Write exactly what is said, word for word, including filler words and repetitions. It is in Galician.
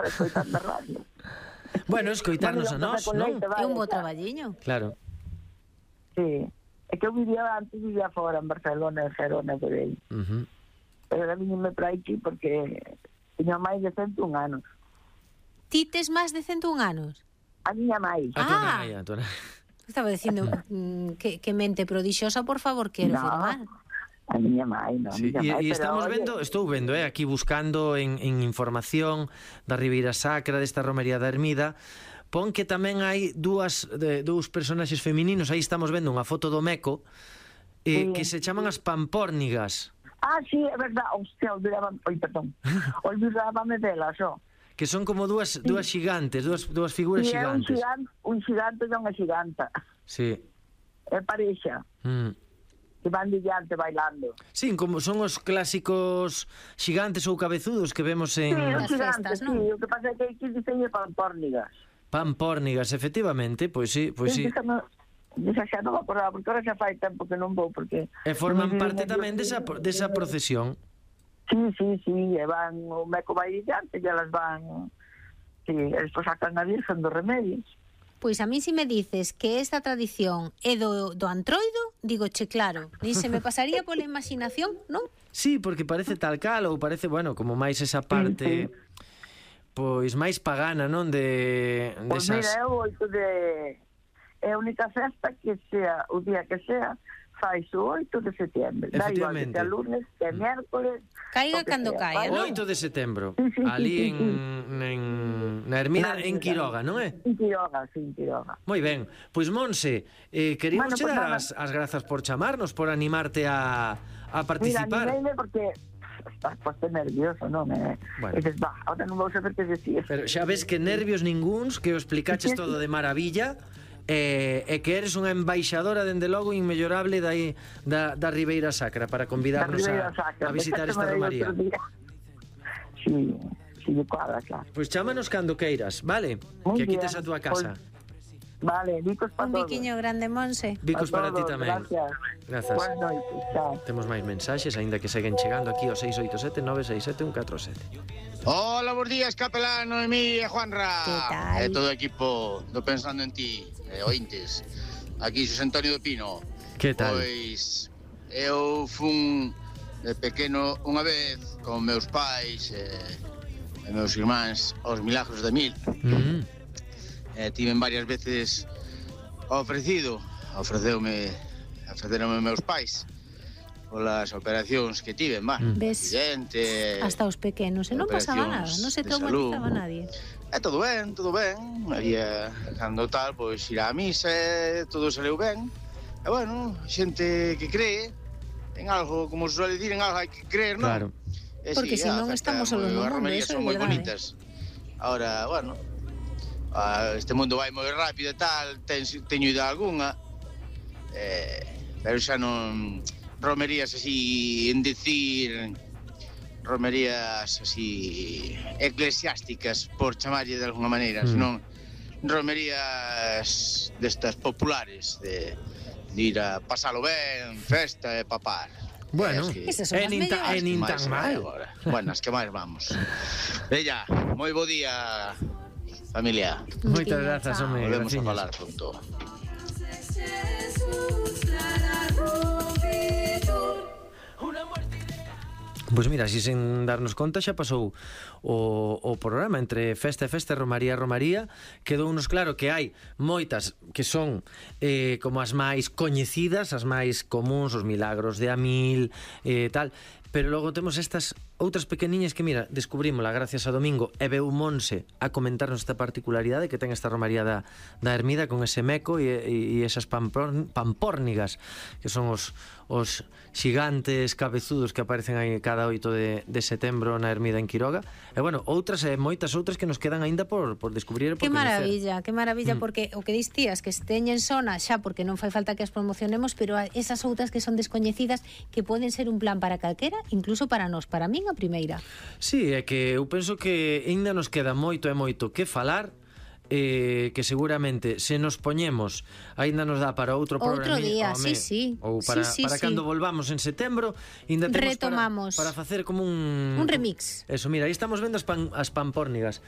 traballar, escoitando a radio. Bueno, escoitarnos a nós, non? É un bo traballiño. Claro. Sí. É que eu vivía antes, vivía fora, en Barcelona, en Gerona, por aí. Uh -huh. Pero ahora vínhame para aquí porque tiña máis de cento un anos. Ti tes máis de cento un anos? A miña máis. A tu Ah. nai, a tu nai. Estaba dicindo mm, que, que mente prodixiosa, por favor, quero No. firmar. A miña máis, non, Sí, a miña e, máis, e estamos pero, vendo, oye, estou vendo, eh, aquí buscando en, en información da Ribeira Sacra, desta romería da Ermida, pon que tamén hai dúas de, dous personaxes femininos, aí estamos vendo unha foto do Meco, eh, Sí. que se chaman as Pampórnigas, Ah, sí, é verdad. Hostia, olvidaban... Oi, perdón. Olvidábame delas, ó. que son como dúas, dúas xigantes, dúas, dúas figuras E é un xigantes. xigante, un xigante e unha xiganta. Sí. É parexa. Mm. Que van diante bailando. Sí, como son os clásicos xigantes ou cabezudos que vemos en Sí, os Nas xigantes, festas, non? sí. O que pasa é que aquí dicen pampórnigas. Pampórnigas, efectivamente, pois sí, pois sí. Desa xa non me acordaba, porque ahora xa fai tempo que non vou, porque... E forman eu parte vivo tamén en- desa, desa procesión. Sí, sí, sí, e van, o Meco vai diante, e elas van... Sí, e despois sacan a Virgen dos Remedios. Pois a mí si me dices que esta tradición é do, do antroido, digo, che claro, ni se me pasaría pola imaginación, non? Sí, porque parece tal cal ou parece, bueno, como máis esa parte pois máis pagana, non, de Pois desas. mira, é o oito de... É a única festa que sea, o día que sea, fai o oito de setembro. Da igual que Efectivamente. sea lunes, que é miércoles... Caiga o que cando sea. caia, Vai, non? oito de setembro, Sí, sí, sí, ali sí, en, sí. en na Ermida, Na en Ermida. Quiroga, non é? En Quiroga, sí, en Quiroga. Moi ben. Pois Monse, eh, queríamos Bueno, che pues dar nada. as, as grazas por chamarnos, por animarte a, a Mira, participar. animeime porque estás poste nervioso, non? Eh? Bueno. E dices, va, ahora non vou saber que decir. Pero xa ves que nervios ningúns, que o explicaches todo de maravilla, e, e que eres unha embaixadora, dende logo, inmellorable da, da, da Ribeira Sacra para convidarnos Da Ribeira a, Sacra. a visitar esta Déjame romaría. outro día. Sí, sí, de cuadra, claro. Pois chámanos cando queiras, vale? Muy que aquí bien, tes a túa casa. Vale, bicos para Un todos. biquiño grande, Monse. Bicos Pa para ti todos, tamén. Gracias. Grazas. Buenas noites, chao. Temos máis mensaxes, aínda que seguen chegando aquí ao seis oito sete nove seis sete un catro sete. Hola, bons días, capelán, Noemí e Juanra. Que tal? E todo o equipo do Pensando en Ti, e ointes. Aquí Xosé Antonio do Pino. Que tal? Pois eu fun de pequeno unha vez con meus pais e, e meus irmáns aos Milagros de Mil. Mm. E tiven varias veces ofrecido, ofreceume, ofreceronme meus pais polas operacións que tiven, va. Mm. Ves? Accidente, Hasta os pequenos, e non pasaba nada, operacións non se de traumatizaba salud. nadie. É todo ben, todo ben. Había, cando tal, pois ir á misa, e todo saleu ben. E bueno, xente que cree en algo, como se suele dicir, en algo hai que creer, non? Claro. E Porque sí, senón a festa estamos é moi- solos no as mundo, romerías eso é son moi verdade. bonitas. Ahora, bueno, a, este mundo vai moi rápido e tal, ten, teño idea algunha, eh, pero xa non romerías así, en decir, romerías así eclesiásticas, por chamarlle de alguna maneira, Mm. senón romerías destas populares, de, de ir a pasalo ben, festa e papar. Bueno, É as que- Esas son e as nin ta- mellores. e nin máis tan se vai mal. agora. Bueno, as que máis vamos. Bella, moi bo día, familia. Moitas Biquiño, grazas, chao. home. Volvemos a graciñas. falar pronto. Pois mira, así sen darnos conta xa pasou o, o programa entre festa e festa, romaría e romaría. Quedounos claro que hai moitas que son eh, como as máis coñecidas, as máis comuns, os milagros de Amil e eh, tal. Pero logo temos estas outras pequeniñas que, mira, descubrímola gracias a Domingo e veu Monse a comentarnos esta particularidade que ten esta romaría da, da Ermida con ese meco e, e, e esas pampor, pampórnigas que son os, os xigantes cabezudos que aparecen aí cada oito de, de setembro na Ermida en Quiroga. E bueno, outras e moitas outras que nos quedan aínda por, por descubrir e por Que coñecer. maravilla, que maravilla, Mm. porque o que distías que teñen sona xa porque non fai falta que as promocionemos, pero a- esas outras que son descoñecidas que poden ser un plan para calquera, incluso para nós, para min a primeira. Sí, é que eu penso que aínda nos queda moito e moito que falar, eh, que seguramente se nos poñemos aínda nos dá para outro Outro programa día, sí, sí. ou para, Sí, sí, para sí. cando volvamos en setembro aínda temos Retomamos. para, para facer como un Un remix. Eso, mira, aí estamos vendo as, pan, as pampórnigas